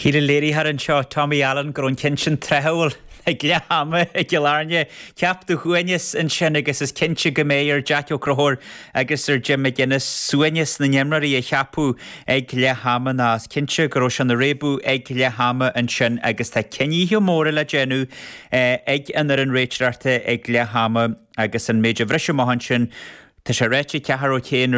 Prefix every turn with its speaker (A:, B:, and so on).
A: Shíl an léiritheoir anseo, Tommy Allen, go raibh an ceann sin tráthúil ag leath ama i gCill Airne. Ceap do shuaimhneas ansin agus is cinnte go mbeidh ar Jack Ó Conchúir agus ar Jim McGuinness suaimhneas na n-imreoirí a cheapadh ag leath ama ná is cinnte go raibh sé ina réabadh ag leath ama ansin agus tá cinnithe móra le déanamh ag an fhoireann réiteoireachta ag leath ama agus an méid a bhris amach ansin, tá sé ráite ag Ceathar Ó Cadhain.